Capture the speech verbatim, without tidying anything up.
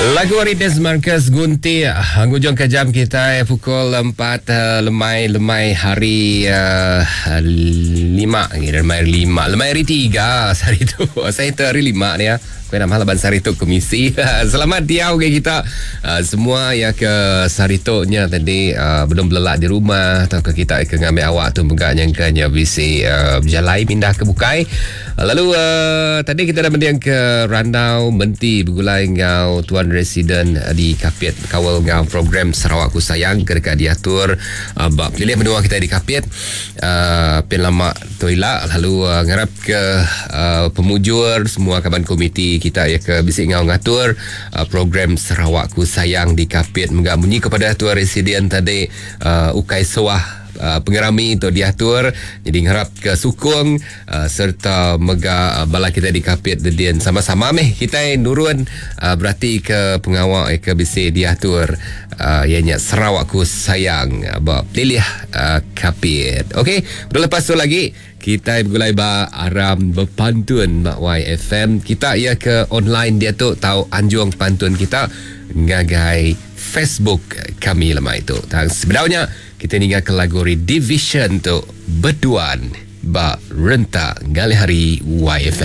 Lagu ari Des Marcus Gunti ngujung ke jam kita pukul empat uh, lemai lemai hari uh, lima lemai hari lima lemai hari tiga hari tu saya tu hari lima ni ya. Kau nama laban sehari tu komisi. Selamat diau ke kita uh, semua ya ke sehari tu nya tadi uh, belum belelak di rumah atau ke kita ke ngambil awak tu megak nyangkanya bisi uh, berjalai pindah ke bukai. Uh, lalu uh, tadi kita dah mendiang ke Randau Menti bergulai ngau Tuan Residen di Kapit kawal ngau program Sarawakku Sayang ke dekat diatur uh, bab pilih menua kita di Kapit uh, pin lama tu ila lalu uh, ngarap ke uh, pemujur semua kaban komiti kita ya ke bisik ngau ngatur uh, program Sarawakku Sayang di Kapit menggak bunyi kepada Tuan Residen tadi uh, Ukai Suah Uh, pengerami untuk diatur jadi ngarap ke sukung uh, serta mega uh, bala kita di Kapit dedian sama-sama meh kita nurun uh, berarti ke pengawal ke bisi diatur uh, ianya Sarawakku Sayang uh, ba pilih uh, Kapit. Okey, lepas tu lagi kita bergulai ba aram berpantun mak Y F M kita ya ke online dia tu tahu anjung pantun kita ngagai Facebook kami lemah itu. Dan sebenarnya kita ningat ke lagu Redivision tu berduan ba rentak ngalih hari Y F M.